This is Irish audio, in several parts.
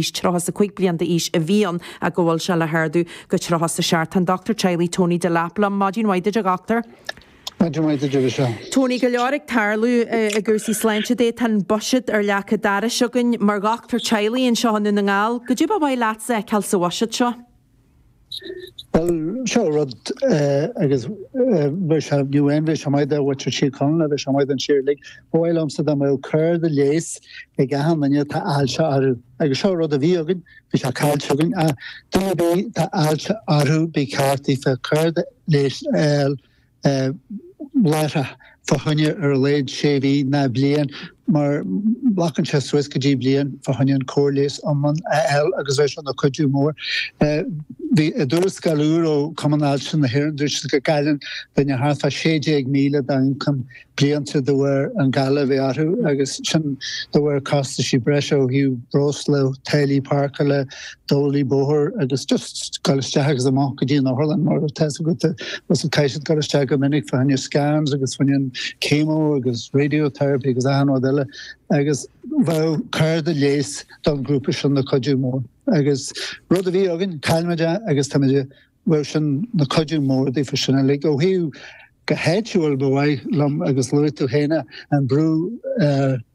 35 bliain d'aois a bhí ann ach go bhfuil sé le hardú go 37. Tá an Dochtúir Teaghlaigh Tony Delap liom. Maidin mhaith duit a dhochtúir. Maidin mhaith duit a Mhichelle. Tony, go leor ag tarlú i gcúrsaí sláinte de. Tá an buiséad ar leac an dorais againn. Mar dhochtúir teaghlaigh anseo i nDún na nGall, goidé ba mhaith leatsa a fheiceáil sa bhuiséad seo? Bhuel, seo rud agus bheadh sé, ní amháin bheadh sé maith do mhuintir Thír Chonaill, bheadh sé maith don tír uilig. Ba mhaith liomsa dá mbeadh cárta leighis ag achan duine atá ailse orthu. Agus seo rud a bhí againn, bhí sé caillte againn, ach duine ar bith atá ailse orthu, ba cheart daofa cárta leighis a fháil láithreach fá choinne ar a laghad sé mhí ná bliain mar glacann sé suas go dtí bliain fá choinne an cóir leighis iomlán a fháil agus bheadh sé ina chuidiú mór. Bhí i dtuarascáil úr ó Chumann Ailse na hÉireann dúirt siad go gcailleann duine thart fá 16,000 dá ioncam blianta de bharr an galar a bheith orthu agus sin de bharr costaisí breise ó thaobh breosla, táillí páirceála, dolaí bóthair agus just dul isteach agus amach go dtí an otharlann mar tá a fhios agat agus caithfidh siad dul isteach go minic fá choinne scans agus fá choinne an chemo agus radiotherapy agus achan rud eile agus bheadh cárta leighis don ghrúpa sin ina chuidiú mór agus rud a bhí againn, chaill muid é agus táimid bheadh sin ina chuidiú mór daofa sin uilig. Ó thaobh go háitiúil ba mhaith liom agus luaigh tú féin an brú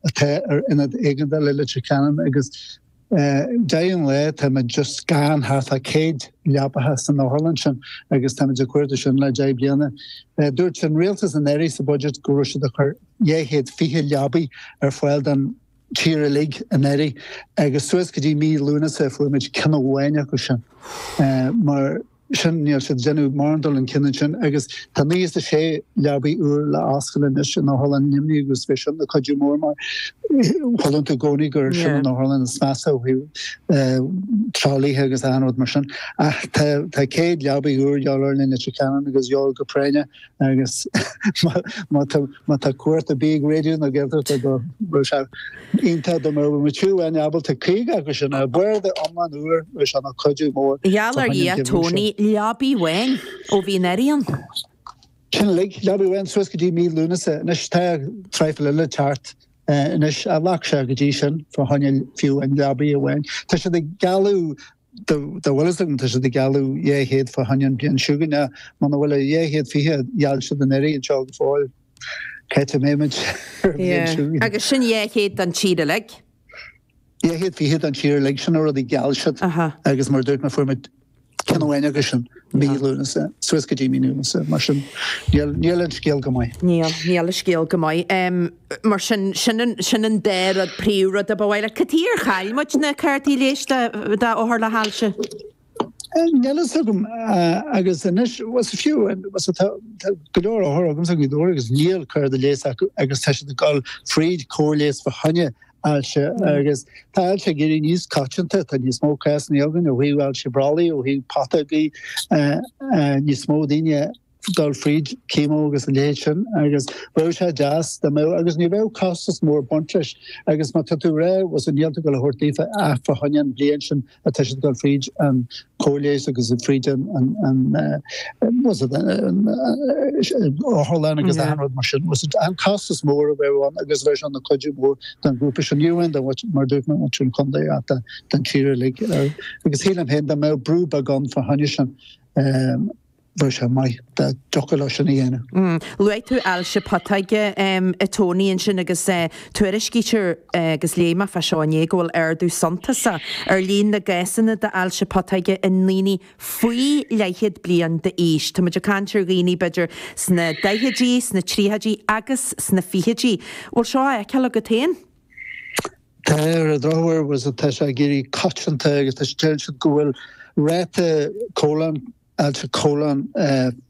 atá ar ionad éigeandála Leitir Ceanainn agus deireadh an lae táimid just gann thart fá 100 leapacha san otharlann sin agus táimid ag cuartú sin le 10 bliana. Dúirt an rialtas anuraidh sa budget go raibh siad ag cur 220 leabaí ar fáil don tír uilig anuraidh agus suas go dtí mí Lúnasa fuair muid ceann amháin acu sin mar sin níl siad ag déanamh mórán dul chun cinn ansin agus tá 96 leabaí úr le oscailt anois in Otharlann Luimnigh agus bheadh sin ina cuidiú mór mar chualann tú i gcónaí gur sin an otharlann is measa ó thaobh tralaithe agus achan rud mar sin. Ach tá 100 leabaí úr de dhíobháil orainn i Leitir Ceanainn agus de dhíobháil go práinneach agus má tá má tá cuairt ar bith ag Raidió na Gaeltachta go raibh sé iontach dá mbeadh muid fiú amháin ábalta 50 acu sin a barda iomlán úr bheadh sé ina chuidiú mór Gheall ar Dhia Tony, leabaí amháin ó bhí an earraigh ann. Sin uilig, leabaí amháin suas go dtí mí Lúnasa. Anois tá traidhfil eile ag teacht anois ach ghlac sé go dtí sin fá choinne fiú an leabaí amháin. Tá siad ag gealladh Dá bhfuil fhios agam, tá siad ag gealladh 200 fá choinne an bhliain seo chugainn, ach muna bhfuil an 220 a gheall siad anuraidh anseo go fóill, cá háit a mbeidh muid ar an bhliain seo chugainn? Agus sin 200 don tír uilig? 220 don tír uilig, sin an rud a gheall siad agus mar a dúirt mé, fuair muid ceann amháin acu sin. mí Lúnasa, suas go dtí mí Lúnasa, mar sin níl, níl an scéal go maith. Níl, níl an scéal go maith. Mar sin, sin an, sin an dá rud, príomhrud a ba mhaith leat. Cad chuige ar chaill muid na cártaí leighis do, do othair le hailse? Níl fhios agam agus anois, bhuel is fiú, bhuel tá, tá go leor othar agamsa i nGaoth Dobhair agus níl cárta leighis acu agus tá siad ag dul fríd cóir leighis fá choinne ailse agus tá ailse ag éirí níos coitianta, tá níos mó cásanna againn ó thaobh ailse brollaigh, ó thaobh putógaí, níos mó daoine ag dul fríd chemo agus a leithéid sin agus bheadh sé deas dá mbeadh agus ní bheadh costas mór ag baint leis agus má tá tú ag rá bhuel níl tú ag dul a thabhairt daofa ach fá choinne an bhliain sin atá siad ag dul fríd an cóir leighis agus fríd an otharlann agus achan rud mar sin. An costas mór a bheadh ann agus bheadh sé ina chuidiú mór don ghrúpa sin. Ní amháin do mar dúirt mé muintir an chontae ach don tír uilig. Agus shílim féin dá mbeadh brú beag ann fá choinne sin. bheadh sé maith dá dtiocfadh leo sin a dhéanamh. Luaigh tú ailse putóige, a Tony, ansin agus tuairiscítear, agus léigh mé fá seo inné, go bhfuil ardú suntasach ar líon na gcásanna d'ailse putóige i ndaoine faoi leathchéad bliain d'aois. Tá muid ag caint ar dhaoine b'fhéidir sna daichidí, sna tríochaidí agus sna fichidí. Bhfuil seo á fheiceáil agat féin? Tá, ar an drochuair, tá sé ag éirí coitianta agus tá deireann siad go bhfuil ráta colon ailse colon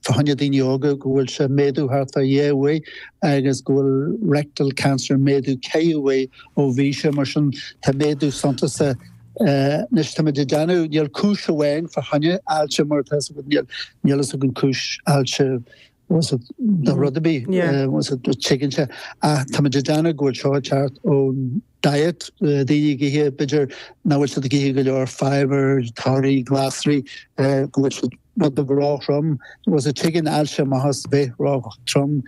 fá choinne daoine óga go bhfuil sé ag méadú thart fá dhá uair agus go bhfuil rectal cancer ag méadú ceithre huaire ó bhí sé mar sin tá méadú suntasach anois táimid ag déanamh níl cúis amháin fá choinne ailse mar tá fhios agat níl níl fhios againn cúis ailse do rud ar bith tuigeann sé ach táimid ag déanamh go bhfuil seo ag teacht ón diet, daoine ag ithe, b'fhéidir nach bhfuil siad ag ithe go leor fibre, torthaí, glasraí, go bhfuil siad rud beag ró-throm. Bhuel tigeann ailse amach as bheith ró-throm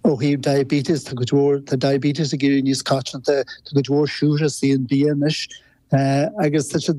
ó thaobh diabetes, tá cuid mhór, tá diabetes ag éirí níos coitianta, tá cuid mhór siúcra sa bia anois. Agus tá siad.